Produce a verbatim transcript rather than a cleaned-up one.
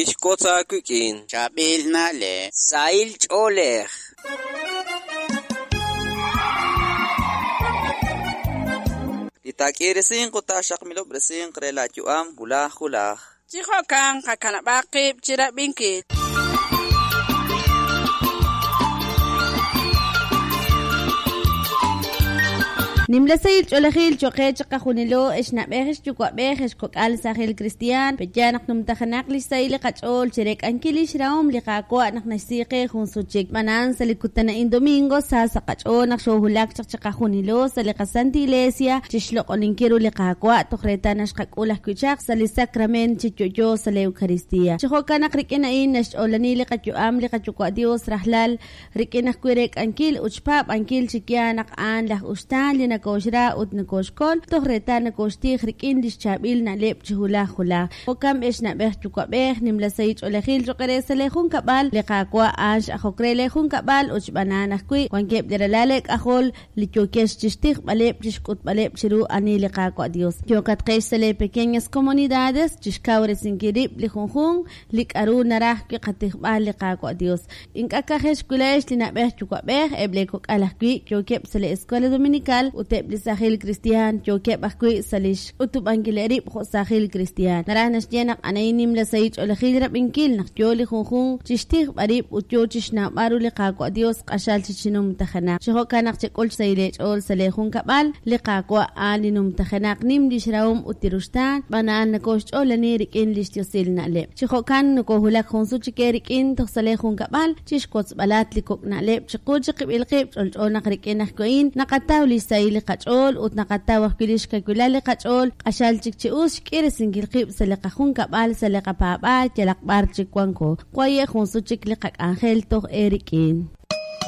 Tixwotz aawik'in. Chaab'il na'leb'. Sahil ch'oolej. Li taak'iirisinq ut taaxaqmilob'resinq re laayu'am wulaj wulaj. Chi jo'kan qakanab'aq qib' chirab'inkil. Nimla sahil ch'oolejil cho'q qe chiqajunilo, ex na'b'ej, ex yuwa'b'ej, ex kok'al saajil kristiaan, pe'yaal naq numtajenaq li xsahil li qach'ool chi reek'ankil li xrahom li Qaawa' naq naxsi qe jun sut chik. B'anaan sa' li kutan a'in domingo sa sa' qach'ool naq xoohulak chaq chiqajunilo sa' li qaSanta Iglesia chi xloq'oninkil ru li Qaawa' toj reetal naxqak'ul ajwi' chaq sa' li sacrament chi yo'yo sa' li Eucaristía. Chi jo'kan naq rik'in a'in naxch'oolani li qayu'am li qaYuwa' Dios rajlal rik'in ajwi' reek'ankil ut xpaab'ankil chi yaal naq a'an laj uxtaan li nakooxra ut nakooxkol toj reetal nakooxtij rik'in li xchaab'il na'leb' chi hulaj hulaj. Jo'kan b'ex na'b'ej yuwa'b'ej nimla sahil ch'oolejil cho'q re sa' lee junkab'al li Qaawa' a'an x'ajok re lee junkab'al ut xb'anaan ajwi' wankeb' li ralal leek'ajol li yookex chixtijb'aleb' chixk'utb'aleb' chiru ani li Qaawa' Dios. Yookatqex sa' lee pequeñas comunidades chixkawresinkil rib' li junjunq li k'aru naraj wi' qatijb'al li Qaawa' Dios. Ink'a' ka'ajex wilayex li na'b'ej yuwa'b'ej eb' lee kok'al ajwi' yookeb' sa' li Escuela Dominical ut eb' li saajil kristiaan yookeb' ajwi' sa' li xk'utub'ankil rib' jo' saajil kristiaan. Naraj naxye naq anayin nimla sahil ch'oolejil rab'inkil naq yo li junjunq chixtijb'al rib' ut yo chixnawb'al ru li Qaawa' Dios q'axal chi chinumtajenaq. Chi jo'kan naq chek'ul xsahil eech'ool sa' lee junkab'al li Qaawa' a'an li numtajenaq nim li xrahom ut li ruxtaan xb'aan a'an nakooxch'oolani rik'in li xyosil na'leb'. Chi jo'kan nakoohulak jun sut chik eerik'in toj sa' lee junkab'al chixwotzb'alat li kok' na'leb' chiqu chiqib'il qib' ch'olch'o naq rik'in ajwi' a'in naqataw li xsahil li qach'ool ut naqataw ajwi' li xkawilal li qach'ool q'axal chik chi us xk'irisinkil qib' sa' li qajunkab'al sa' li qapaab'aal yalaq b'ar chik wanko. Waye' jun sut chik li qak'anjel toj eerik'in.